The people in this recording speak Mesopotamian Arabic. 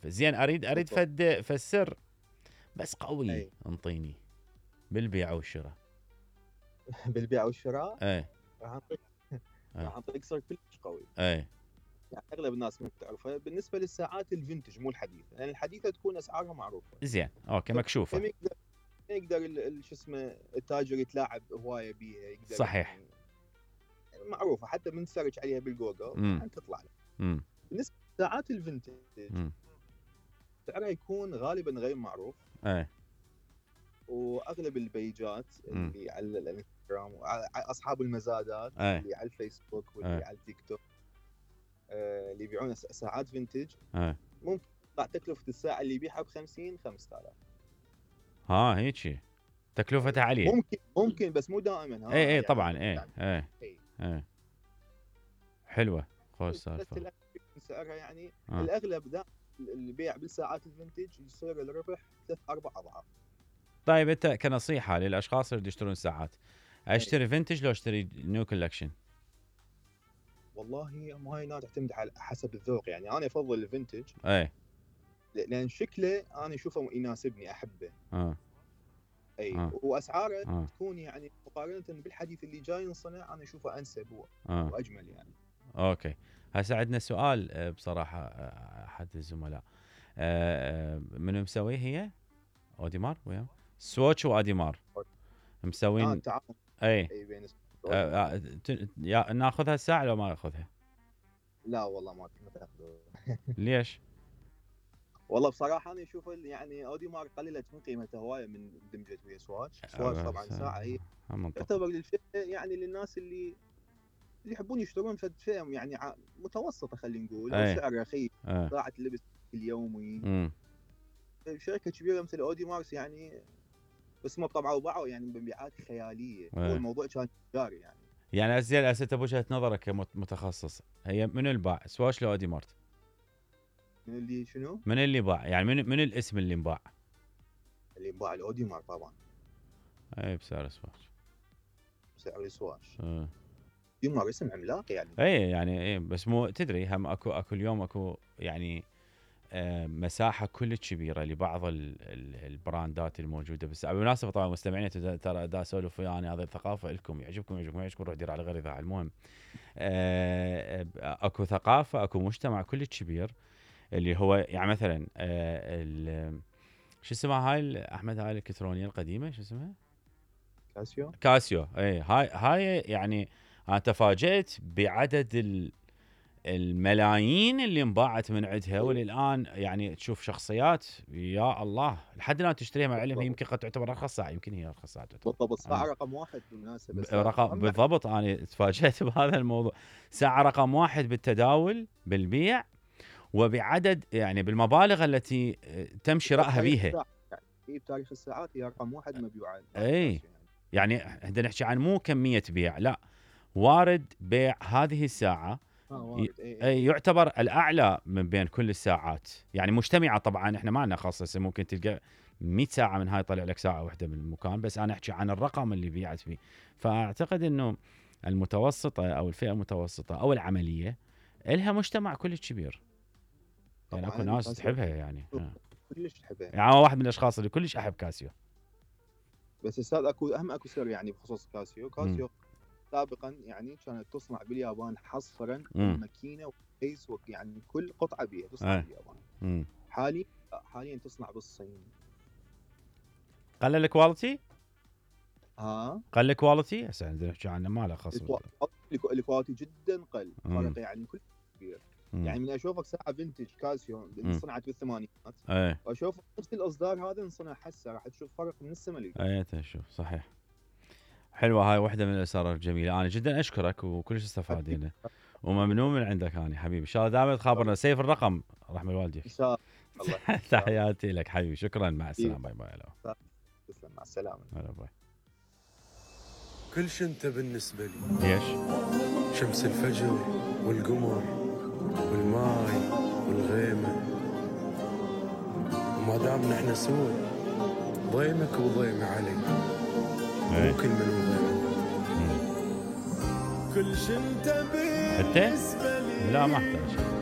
السالفه. زين اريد فد سر بس قوي انطيني بالبيع والشراء. بالبيع والشراء اي راح اعطيك سر كلش قوي. اي يعني اغلب الناس ما تعرفها. بالنسبه للساعات الفينتج مو الحديثه، لان يعني الحديثه تكون اسعارها معروفه. زين اوكي مكشوفه. ما يقدر شو اسمه التاجر يتلاعب هوايه بيها. يقدر صحيح. يعني معروفه حتى من تسرج عليها بالجوجل يعني تطلع لك. بالنسبه للساعات الفينتج سعرها يكون غالبا غير معروف. واغلب البيجات اللي على الانستغرام اصحاب المزادات اللي على الفيسبوك واللي على التيك توك اللي يبيعون ساعات فينتج ممكن تطلع تكلفه الساعه اللي يبيعها ب50 5000. هيك تكلفتها عاليه. ممكن بس مو دائما. اي يعني طبعا اي حلوه خوش سالفه. سعرها يعني الاغلب البيع بالساعات الفينتج يصير الربح 3-4 اضعاف. طيب انت كنصيحه للاشخاص اللي يشترون ساعات، اشتري فينتج لو اشتري نيو كولكشن؟ والله ما هي تعتمد على حسب الذوق. يعني انا افضل الفينتج لان شكله انا اشوفه يناسبني احبه. واسعاره تكون يعني مقارنه بالحديث اللي جاي ينصنع انا اشوفه انسب واجمل يعني. اوكي هسه عندنا سؤال بصراحه احد الزملاء منو مسويه هي اوديمار وياه سواتش واديمار مسوين تعاون بين ناخذها الساعه لو ما ناخذها؟ لا والله ما تاخذها. ليش؟ والله بصراحه انا اشوف يعني اوديمار قللت من قيمتها هوايه من دمجت ويا سواتش طبعا ساعه هي تعتبر للفئه يعني للناس اللي يحبون يشترون فئه يعني متوسطه خلينا نقول او سعر رخيص ساعه اللبس اليومي. شركه كبيره مثل اوديمارس يعني بس ما طبعا وباعوا يعني بمبيعات خياليه. هو الموضوع كان تجاري يعني ازين هسه بوجهه نظرك كمتخصص هي من الباع سواتش لو اوديمارت؟ من اللي شنو؟ من اللي باع يعني من الاسم اللي انباع؟ اللي انباع الاوديمار طبعا. بسعر سواتش. بسعر سواتش. اوديمار اسم عملاق يعني. يعني بس مو تدري هم اكو اليوم اكو يعني مساحه كلش كبيره لبعض البراندات الموجوده. بس بالمناسبه طبعا مستمعين ترى دا اسولف ويانا هذا الثقافه لكم يعجبكم روح دير على غير اذاعه. المهم اكو ثقافه اكو مجتمع كلش كبير اللي هو يعني مثلا شو اسمها هاي احمد هاي الالكترونيه القديمه شو اسمها؟ كاسيو. هاي يعني انا تفاجأت بعدد الملايين اللي انباعت من عندها وللان يعني تشوف شخصيات يا الله لحد الان تشتريها. مع العلم هي يمكن قد تعتبر ارخص ساعه. يمكن هي ارخص ساعه بالضبط. ساعه رقم 1 بالمناسبه. بالضبط انا تفاجأت بهذا الموضوع. ساعه رقم 1 بالتداول بالبيع وبعدد يعني بالمبالغ التي تم شرائها بيها. في بتاريخ الساعات هي رقم 1 مبيوعات. يعني احنا نحكي عن مو كميه بيع لا وارد بيع هذه الساعه يعتبر الاعلى من بين كل الساعات يعني مجتمعه. طبعا احنا ما لنا خاصه ممكن تلقى 100 ساعه من هاي طلع لك ساعه واحده من المكان. بس انا احكي عن الرقم اللي بيعت فيه. فاعتقد انه المتوسطه او الفئه المتوسطه او العمليه لها مجتمع كلش كبير. يعني اكو ناس تحبها يعني كلش تحبها. يعني واحد من الاشخاص اللي كلش احب كاسيو. بس استاذ اكو سر يعني بخصوص كاسيو سابقا يعني كانت تصنع باليابان حصرا الماكينه والكيس يعني كل قطعه بيها تصنع باليابان. حاليا تصنع بالصين. قل الكواليتي؟ قل الكواليتي؟ هسه عندنا نحكي عنه ما له خص. الكواليتي جدا قل. فرق يعني كل كبير. يعني من اشوفك ساعه فينتج كاسيو انصنعت بالثمانينات واشوف نفس الاصدار هذا انصنع هسه راح تشوف فرق من السما للارض. تشوف صحيح. حلوه هاي واحده من الاسرار الجميله. انا جدا اشكرك وكلش استفادينا وممنون من عندك هاني حبيبي. ان شاء الله دائما تخابرنا. سيف الرقم رحمه الوالدين. ان شاء الله. تحياتي لك حبيبي. شكرا مع السلامه. باي باي. تسلم مع السلامه. هلا باي. كل شيء انت بالنسبه لي. ليش؟ شمس الفجر والقمر والماي والغيمه وما دام نحن سوا ضيمك وضيمي علي ممكن من وضيمك. كل شيء انت بالنسبه لي. لا ما احتاج.